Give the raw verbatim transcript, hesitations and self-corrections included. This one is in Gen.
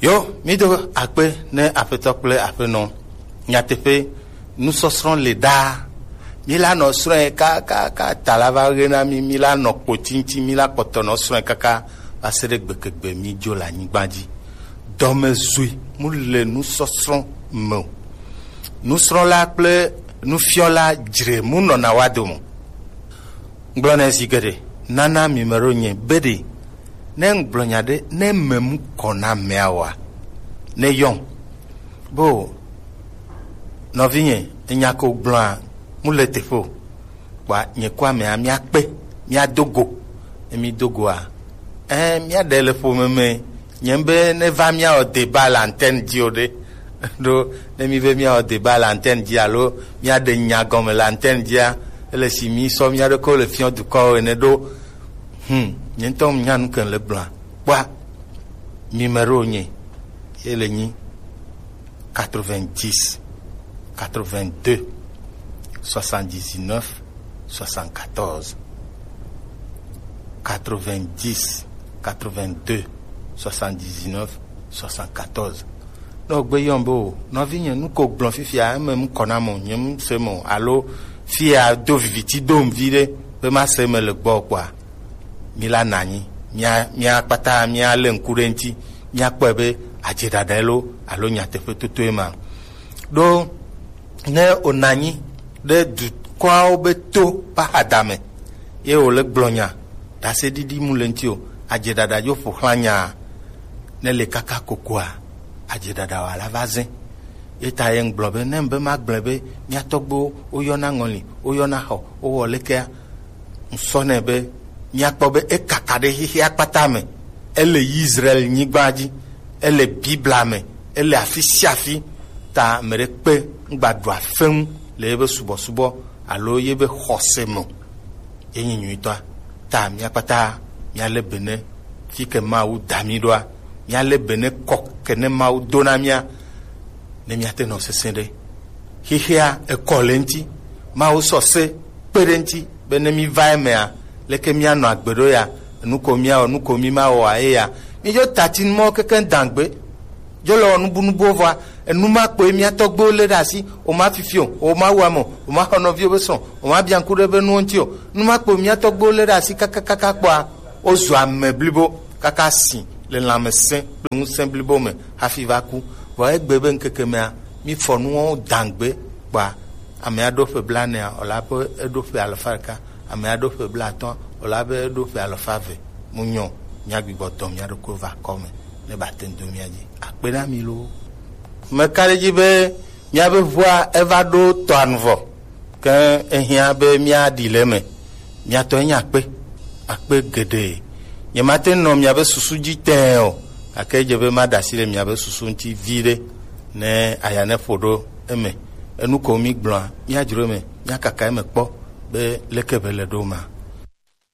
Yo, mi do akpe ne Aƒetɔ kple Aƒenɔ. Nyateƒe, nusɔsrɔ̃ le ɖaa. Mi la nɔ srɔ̃e kakaka ta la va ɣe na mi, mi la nɔ kpoti ŋuti, mi la kpɔtɔ nɔ srɔ̃e kaka va se ɖe gbegegbe mi dzo le anyigba dzi. Dɔmezui mu le nusɔsrɔ̃ me o. Nusrɔ̃la kple nufiɔla dzre mu nɔna wa dome. Ŋgblɔ nɛ zi geɖe, nana mi me ɖo nye be ɖe, ne ŋgblɔ nya ɖe, ne me mu kɔ na mea wa, ne yɔn. Bo, nɔvinye, enya ko gblɔa, mu le teƒe o. Kpa nye kɔ amea, mia kpe, mia do go. Ne mi do goa, eh, mia ɖe le ƒome me. Nye be ne va mia wɔ débat le antenne dzi o ɖe. Ɖo, ne mi be mia wɔ débat le antenne dzi alo mia ɖe nya gɔme le antenne dzia, ele si mi sɔ mia ɖokɔ le fiɔ dukɔwo ene ɖo. Hmm, nye ŋutɔ nya nu ke le gblɔa. Kpɔa, mi me ɖo nye, ye le nyi quatre-vingt-dix, quatre-vingt-deux, soixante-dix-neuf, soixante-quatorze. Quatre-vingt-dix, quatre-vingt-deux, soixante-dix-neuf, soixante-quatorze. Ne wògbe yɔm be o, nɔvinye, nu ko gblɔ fifia, eme ŋkɔ nam o, nye ŋse me o, alo fia do viviti dom vi ɖe, be mase eme le gbɔ kpɔa, mi la na anyi, mia, mia kpata mia le ŋku ɖe ŋuti, mia kpɔe be adze ɖaɖa lo, alo nyateƒe totoe ma. Ɖo ne wòna anyi ɖe dukɔawo be to ƒe axadame, ye wòle gblɔ nya, ɖaseɖiɖi mu le ŋuti o, adze ɖaɖa dzo ƒo xlã nyaa, ne le kaka kokoa, adze ɖaɖa wòala va zẽ. Ye ta ye ŋgblɔ be, ne be magblɔe be, mia tɔgbuiwo, woyɔna ŋɔli, woyɔna xɔ, wowɔ lekea, ŋsɔ nɛ be, miakpɔ be ekaka ɖe xexea kpata me. Ele Israel nyigba dzi, ele Biblia me, ele afi sia afi. Ta ame ɖe kpe ŋgba ɖua fe ŋu le yebe subɔsubɔ alo yebe xɔse me o. Ye nyi nyuitɔa. Ta mia kpata miale be ne fi ke Mawu da mi ɖoa, miale be ne kɔ ke ne Mawu do na mia, ne miate nɔ sesẽ ɖe. Xexea ekɔ le ŋuti, Mawu sɔ se kpe ɖe ŋuti be ne mi va emea, leke mianɔ agbe ɖo ya, nu ko miawɔ, nu ko mi mawɔa, eya. Mi dzo tati nu mɔ keke dangbe. Dzo le wɔ nubunubuwo vɔa, enu ma kpoe mia tɔgbuiwo lé ɖe asi, o ma fifi o, o ma wu ame o, o ma xɔ nɔviwo be srɔ̃, o ma bia ŋku ɖe be nuwo ŋuti o. Nu ma kpoe mia tɔgbuiwo lé ɖe asi kakakaka kpɔa, wozu ame blibo kaka si le lãmesẽ kple ŋusẽ blibo me hafi va ku. Vɔ egbe be ŋkeke mea, mi fɔ nuwo dangbe kpɔa, ame aɖo ƒe blaenea, wòla be eɖo ƒe alafa ɖeka, ame aɖo ƒe blaatɔ̃, wòla be eɖo ƒe alafa eve. Mu nyɔ, mia gbigbɔ dɔ mia ɖokui va kɔ me. Ne ba te ŋu do mía dzi. Akpe na mi loo. Meka ɖe edzi be míabe ʋua eva ɖo tɔa nu vɔ, ke ehiã be míaɖi le eme. Mía tɔ enye akpe, akpe geɖe. Nyemate ŋu nɔ miabe susu dzi tẽe o, gake edze be maɖe asi le miabe susu ŋuti viɖe, ne aya ne ƒo ɖo eme. Enu ko mígblɔa, míadzro eme, míakaka eme kpɔ be leke be le ɖo ma.